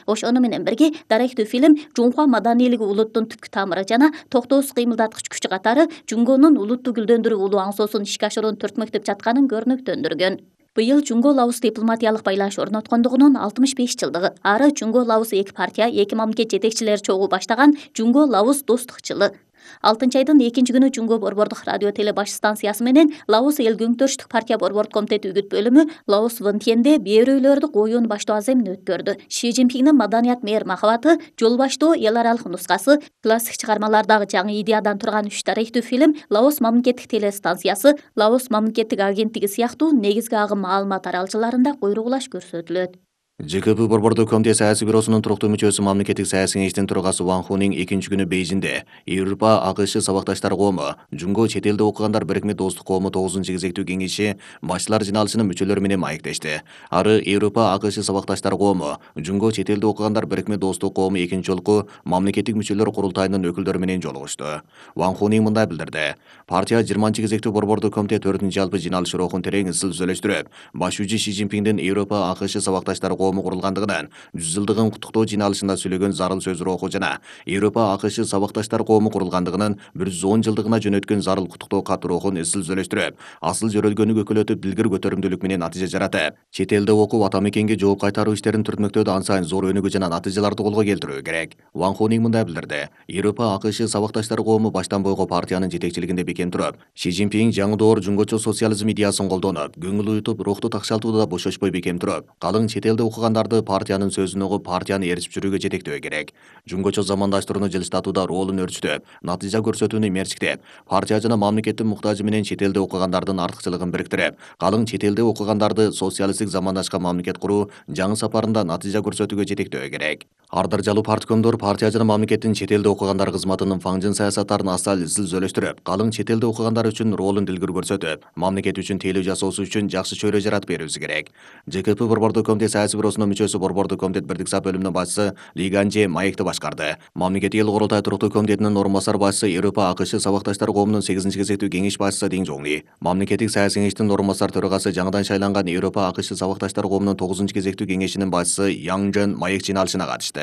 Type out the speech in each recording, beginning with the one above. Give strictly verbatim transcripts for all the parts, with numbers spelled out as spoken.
Ошону менен бирге даректүү фильм Жунхва маданийлиги улуттун түпкү тамыры жана токтоосуз кыймылдаткыч күч катары Жунгонун улутту гүлдөндүрүү улуу аңсоосун ишке ашыруун түртмөктөп жатканын көрнөктөндүргөн. Быйыл Жунго-Лаос дипломатиялык байланыш орноткондугунун алтымыш беш жылдыгы. Ары Жунго-Лаос эки партия, эки мамлекет жетекчилери чогуу баштаган Жунго-Лаос достук жылы. алтынчы айдын экинчи күнү Жунго борбордук радио теле баш станциясы менен Лаос эл көңтөрүштүк партия борбордук комитети үгүт бөлүмү Лаос Вынтьенде бээрөөлөрдү коюун баштоо аземин өткөрдү. Ши Цзиньпиндин маданият мээр махабаты, жол баштоо эл аралык нускасы, классик чыгармалардагы жаңы идеядан турган үч даректүү фильм, Лаос мамлекеттик теле станциясы, Лаос мамлекеттик агенттиги сыяктуу негизги агым маалымат аралчыларында куйругулаш көрсөтүлөт. Ж К П борбордук комитет саясий бюросунун туруктуу мүчөсү мамлекеттик саясий кеңештин төрагасы Ван Хуның экинчи күнү Бейжиңде Европа А К Ш сабакташтар коому Жунго чет элде окугандар бирикме достук коому тогузунчу кезектүү кеңеши башчылар жыналышынын мүчөлөрү менен маектешти. Ары Европа А К Ш сабакташтар коому Жунго чет элде окугандар бирикме достук коому экинчи жолку мамлекеттик мүчөлөр курултайынын өкүлдөрү менен жолугушту. Ван Хуның мындай билдирди: партия жыйырманчы кезектүү борбордук комитет төртүнчү жалпы жыналыш рухун терең ысыл сүйлөштүрүп, башчы Ши Цзиньпиндин Европа А К Ш сабакташтар коому курулгандыгынан жүз жылдыгын куттуктоо жыналышында сүйлөгөн зарыл сөз руху жана Европа А К Ш сабакташтар коому курулгандыгынын бир жүз он жылдыгына жөнөткөн зарыл куттуктоо кат рухун ысыл сүйлөштүрүп, асыл жөрөлгөнү көкөлөтүп дилгир көтөрүмдүүлүк менен натыйжа жаратып, чет элде окуп ата мекенге жооп кайтаруу иштерин түртмөктөөдө ан сайын зор өнүгүү жана натыйжаларды колго келтирүү керек. Ван Хуның мындай билдирди: Европа А К Ш сабакташтар коому баштан бойго партиянын жетекчилигинде бекем туруп, Ши Цзиньпин жаңы доор жунгочо социализм идеясын колдонуп, көңүл уютуп, рухту такшалтууда бошошпой бекем туруп, калың чет элде окугандарды партиянын сөзүн угуп, партияны ээрчип жүрүүгө жетектөө керек. Жунгочо замандаштырууну жылыштатууда ролун өрчүтүп, натыйжа көрсөтүүнү мерчиктеп, партия жана мамлекеттин муктажы менен чет элде окугандардын артыкчылыгын бириктирип, калың чет элде окугандарды социалисттик замандашка мамлекет куруу жаңы сапарында натыйжа көрсөтүүгө жетектөө керек. Ар даражалуу парткомдор партия жана мамлекеттин чет элде окугандар кызматынын фаңжын саясаттарын асал ысыл сүйлөштүрүп, калың чет элде окугандар үчүн ролун дилгир көрсөтүп, мамлекет үчүн тейлөө жасоосу үчүн жакшы чөйрө жаратып берүүсү керек. Ж К П борбордук комитет саясий бюросунун мүчөсү борбордук комитет бирдик сап бөлүмүнүн башчысы Ли Ганже маекти башкарды. Мамлекеттик эл курултай туруктуу комитетинин орун басар башчысы Европа А К Ш сабакташтар коомунун сегизинчи кезектүү кеңеш башчысы Дин Жоңли, мамлекеттик саясий кеңештин орун басар төрагасы жаңадан шайланган Европа А К Ш сабакташтар коомунун тогузунчу кезектүү кеңешинин башчысы Яң Жен маек жыналышына катышты.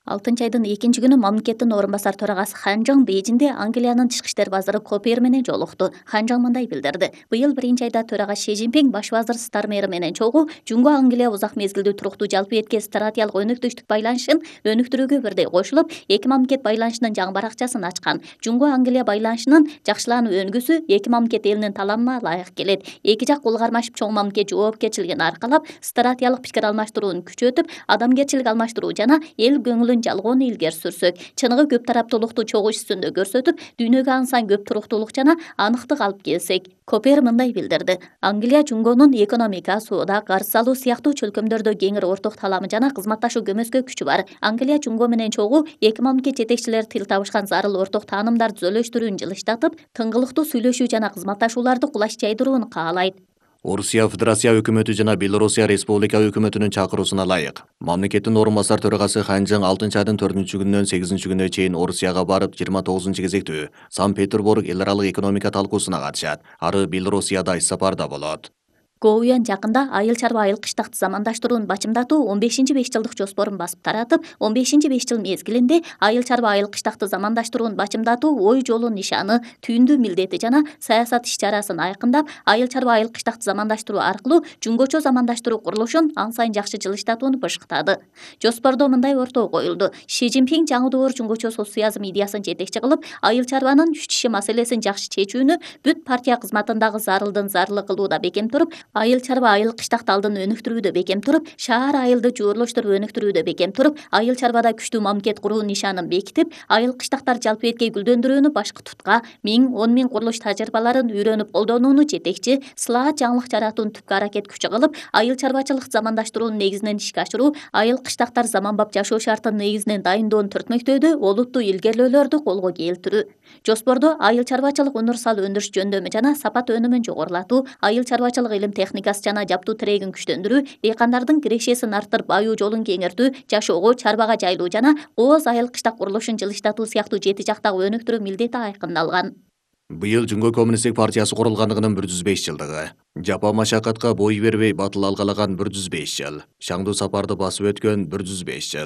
алтынчы айдын экинчи күнү мамлекеттин орун басар төрагасы Хан Жың Бейжиңде Англиянын тышкы иштер вазыры Копер менен жолукту. Хан Жың мындай билдирди: быйыл биринчи айда төрага Ши Цзиньпин баш вазыр Стармери менен чогуу Жунго Англия узак мезгилдүү туруктуу жалпы этке стратегиялык өнөктөштүк байланышын өнүктүрүүгө бирдей кошулуп, эки мамлекет байланышынын жаңы баракчасын ачкан. Жунго Англия байланышынын жакшылануу өнгүсү эки мамлекет элинин талабына ылайык келет. Эки жак кол кармашып чоң мамлекет жоопкерчилигин аркалап, стратегиялык пикир алмаштырууну күчөтүп, адамгерчилик алмаштыруу жана эл көңүлүн жалгоону илгери сүрсөк, чыныгы көп тараптуулукту чогуу иш үстүндө көрсөтүп, дүйнөгө ан сайын көп туруктуулук жана аныктык алып келсек. Копер мындай билдирди: Англия Жунгонун экономика, соода, карыз салуу сыяктуу чөлкөмдөрдө кеңири орток таламы жана кызматташуу көмөскө күчү бар. Англия Жунго менен чогуу эки мамлекет жетекчилери тил табышкан зарыл орток таанымдарды түзөлөштүрүүнү жылыштатып, тыңгылыктуу сүйлөшүү жана кызматташууларды кулаш жайдырууну каалайт. Орусия Федерация өкмөтү жана Белорусия Республика өкмөтүнүн чакыруусуна ылайык мамлекеттин орун басар төрагасы Хан Жың алтынчы айдын төртүнчү күнүнөн сегизинчи күнүнө чейин Орусияга барып, жыйырма тогузунчу кезектүү Санкт-Петербург эл аралык экономика талкуусуна катышат. Ары Белорусияда иш сапарда болот. Гоуян жакында айыл чарба айыл кыштакты замандаштырууну бачымдатуу он бешинчи беш жылдык жоспорун басып таратып, он бешинчи беш жыл мезгилинде айыл чарба айыл кыштакты замандаштырууну бачымдатуу ой жолу нишаны, түйүндүү милдети жана саясат иш-чарасын айкындап, айыл чарба айыл кыштакты замандаштыруу аркылуу жунгочо замандаштыруу курулушун ан сайын жакшы жылыштатууну бышыктады. Жоспордо мындай ортого коюлду: Ши Цзиньпин жаңы доор жунгочо социализм идеясын жетекчи кылып, айыл чарбанын үч тиши маселесин жакшы чечүүнү бүт партия кызматындагы зарылдын зарылы кылууда бекем туруп, айыл чарба айыл кыштак алдын өнүктүрүүдө бекем туруп, шаар айылды жуурлаштырып өнүктүрүүдө бекем туруп, айыл чарбада күчтүү мамлекет куруу нишанын бекитип, айыл кыштактар жалпы этке гүлдөндүрүүнү башкы тутка, миң он миң курулуш тажрыйбаларын үйрөнүп колдонууну жетекчи, сылаат жаңылык жаратууну түпкү аракет күчү кылып, айыл чарбачылык замандаштыруунун негизинен ишке ашыруу, айыл кыштактар заманбап жашоо шартынын негизинен дайындоону түртмөктөөдө олуттуу илгерилөөлөрдү колго келтирүү. Жоспордо айыл чарбачылык универсал өндүрүш жөндөмү жана сапат өнүмүн жогорулатуу, айыл чарбачылык илим техникасы жана жаптуу тирегин күчтөндүрүү, дыйкандардын кирешесин арттырып аюу жолун кеңертүү, жашоого, чарбага жайлоо жана кооз айыл кыштак курулушун жылыштатуу сыяктуу жети жактагы өнүктүрүү милдети айкындалган. Быйыл Жунго коммунисттик партиясы курулгандыгынын бир жүз беш жылдыгы. Жапа машакатка бой бербей батыл алгалаган бир жүз беш жыл. Шаңдуу сапарды басып өткөн бир жүз беш жыл.